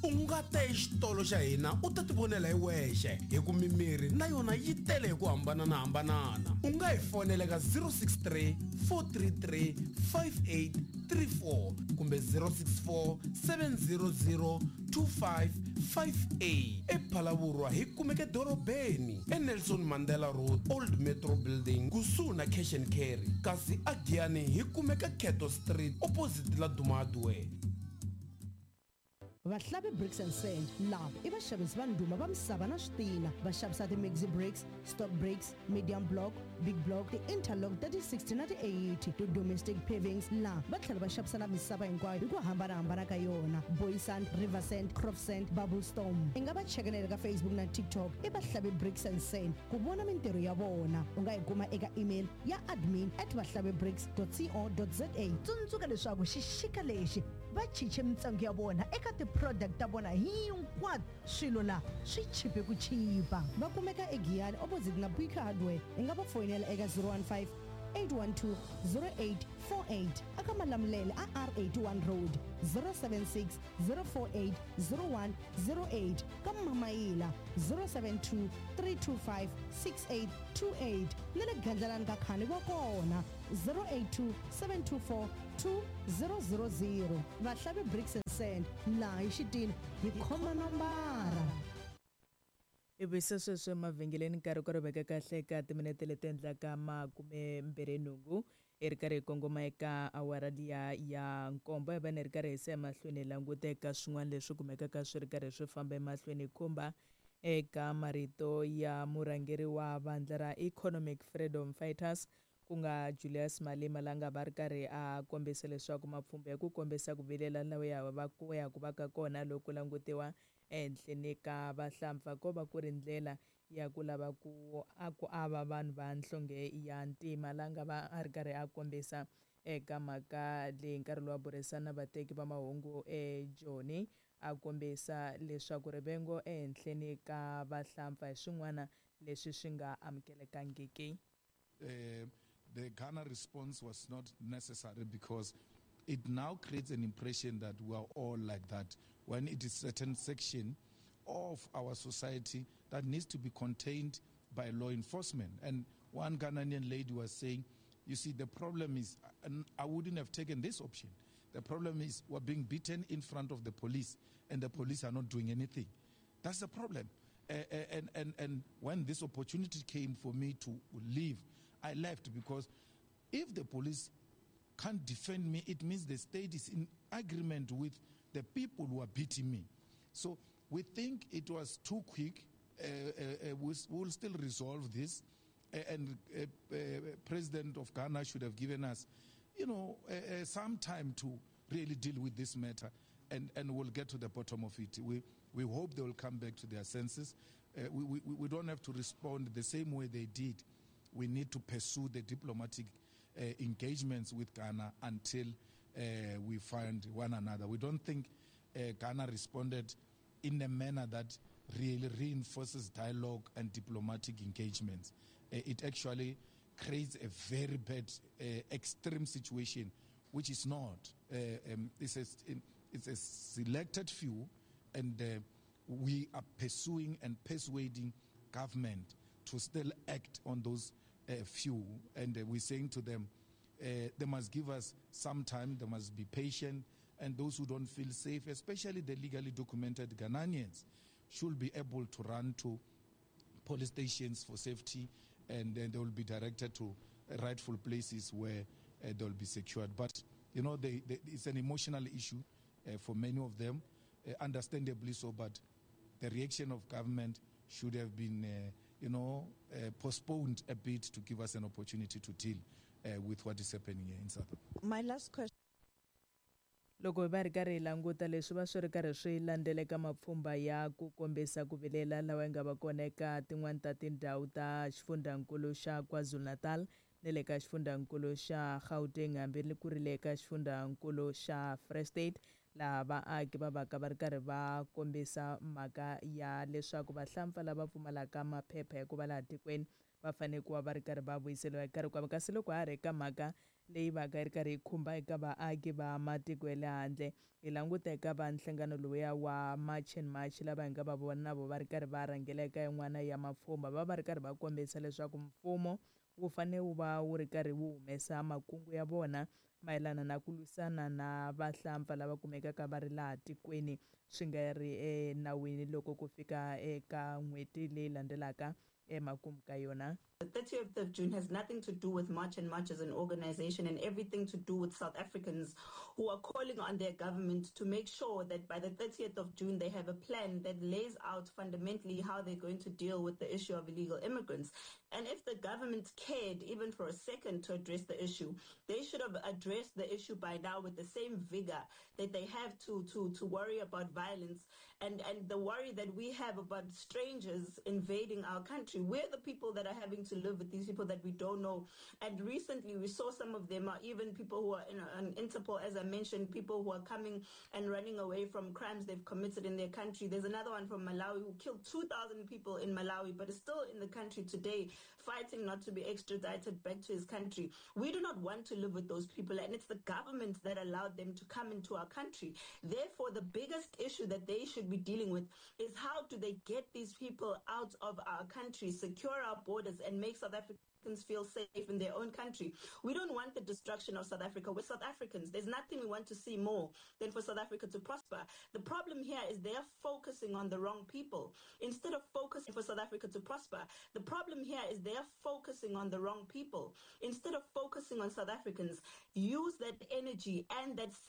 U nga ta exitolo xa hina u ta tivonela hi wexe hi ku mimirhi na yona yi tele hi ku hambananahambanana. U nga hi fonela eka 063 433 5834 kumbe 064 700 2558. EPhalavurwa hi kumeka edorobeni eNelson Mandela Road, Old Metro Building, kusuhi na Cash and Carry, kasi aGiyani hi kumeka Cato Street opposite Laduma Hardware. Vahlavi Bricks and Sand lava i vaxavisi va ndhuma va misava na switina. Va xavisa ti-maxi bricks, stock bricks, medium block, big block, ti-interlock ta ti-60 na ti-80, ti-domestic pavings. Laha va tlhela va xavisa na misava hinkwayo hi ku hambanahambana ka yona, boy sand, river sand, crop sand, bubble storm. I nga va cheka na le ka Facebook na TikTok i Vahlavi Bricks and Sand ku vona mintirho ya vona. U nga yi kuma eka email ya admin at vahlavibricks dot co dot za. Tsundzuka leswaku xixika lexi va chiche mintsengo ya vona eka ti-product ta vona hinkwato. Swilo la swi chipe ku chipa. Va kumeka eGiyani opposite na Buika Hardware. I nga va foyinela eka 015 812 0848 aka Malamulele a R81 Road, 076 048 0108 ka Mamayila, 072 325 6828 na le Gandlalani ka Khani va kona, 082 724 2000. Vahlavi Bricks and Sand, laha hi xitina hi khoma nombara. Hi vuyisa sweswo emavhengeleni nkarhi ku ri veka kahle eka timinete leti endlaka makumembirhi-nhungu hi ri karhi hi kongoma eka awara liya ya nkombo. Hi va ni ri karhi hi se emahlweni hi languta eka swin'wana leswi kumekaka swi ri karhi swi famba emahlweni hi khumba eka marito ya murhangeri wa vandla ra Economic Freedom Fighters ku nga Julius Malema la nga va ri karhi a kombisa leswaku mapfhumba ya ku kombisa ku vilela lawa ya va ku ya ku va ka kona loko ku langutiwa ehenhleni ka vahlampfa ko va ku ri ndlela ya ku lava ku a ku ava vanhu va nhlonge ya ntima la nga va a ri karhi a kombisa eka mhaka leyi nkarhi lowu a burisana na vateki va mahungu eJoni a kombisa leswaku rivengo ehenhleni ka vahlampfa hi swin'wana leswi swi nga amukelekangiki. The Ghana response was not necessary because it now creates an impression that we are all like that, when it is certain section of our society that needs to be contained by law enforcement. And one Ghanaian lady was saying, you see, the problem is, I wouldn't have taken this option. The problem is we're being beaten in front of the police, and the police are not doing anything. That's the problem. And when this opportunity came for me to leave, I left, because if the police can't defend me, it means the state is in agreement with the people who are beating me. So we think it was too quick. We will still resolve this. And President of Ghana should have given us, some time to really deal with this matter, and we'll get to the bottom of it. We hope they will come back to their senses. We don't have to respond the same way they did. We need to pursue the diplomatic engagements with Ghana until we find one another. We don't think Ghana responded in a manner that really reinforces dialogue and diplomatic engagements. It actually creates a very bad, extreme situation, which is not. It's a selected few, and we are pursuing and persuading government to still act on those few. And we're saying to them, they must give us some time, they must be patient, and those who don't feel safe, especially the legally documented Ghanaians, should be able to run to police stations for safety, and then they will be directed to rightful places where they'll be secured. But, it's an emotional issue for many of them, understandably so, but the reaction of government should have been, postponed a bit to give us an opportunity to deal with what is happening here in South Africa. My last question. Loko hi va ri karhi hi languta leswi va swi ri karhi swi landzeleka mapfhumba ya ku kombisa ku vilela lawa ya nga va kona eka tin'wani ta tindhawu ta xifundzankulu xa KwaZulu-Natal na le ka xifundzankulu xa Gauteng hambi ku ri le ka xifundzankulu xa Free State, laha vaaki va vaka va ri karhi va kombisa mhaka ya leswaku vahlampfa lava pfumalaka maphepha ya ku va laha tikweni va fanele ku va va ri karhi va vuyiseriwa hi nkarhi kwavo. Kasi loko ha ri eka mhaka Leyi vaka yi ri karhi yi khumba eka vaaki va matiko ya le handle. Hi languta eka va nhlangano lowuya wa March and March, lava hi nga va vona na vo va ri karhi va rhangela eka yin'wana ya mapfhumba, va va ri karhi va kombisa leswaku mfumo wu fanele wu va wu ri karhi wu humesa makungu ya vona mayelana na ku lwisana na vahlampfa lava kumekaka va ri laha tikweni swi nga ri enawini loko ku fika eka n'hweti leyi landzelaka emakumu ka yona. The 30th of June has nothing to do with March and March as an organization and everything to do with South Africans who are calling on their government to make sure that by the 30th of June they have a plan that lays out fundamentally how they're going to deal with the issue of illegal immigrants. And if the government cared even for a second to address the issue, they should have addressed the issue by now with the same vigor that they have to worry about violence and the worry that we have about strangers invading our country. We're the people that are having to live with these people that we don't know. And recently we saw some of them are even people who are in Interpol, as I mentioned, people who are coming and running away from crimes they've committed in their country. There's another one from Malawi who killed 2,000 people in Malawi, but is still in the country today, fighting not to be extradited back to his country. We do not want to live with those people, and it's the government that allowed them to come into our country. Therefore, the biggest issue that they should be dealing with is how do they get these people out of our country, secure our borders, and make South Africans feel safe in their own country. We don't want the destruction of South Africa. We're South Africans. There's nothing we want to see more than for South Africa to prosper. The problem here is they're focusing on the wrong people. Instead of focusing for South Africa to prosper, the problem here is they're focusing on the wrong people. Instead of focusing on South Africans, use that energy and that same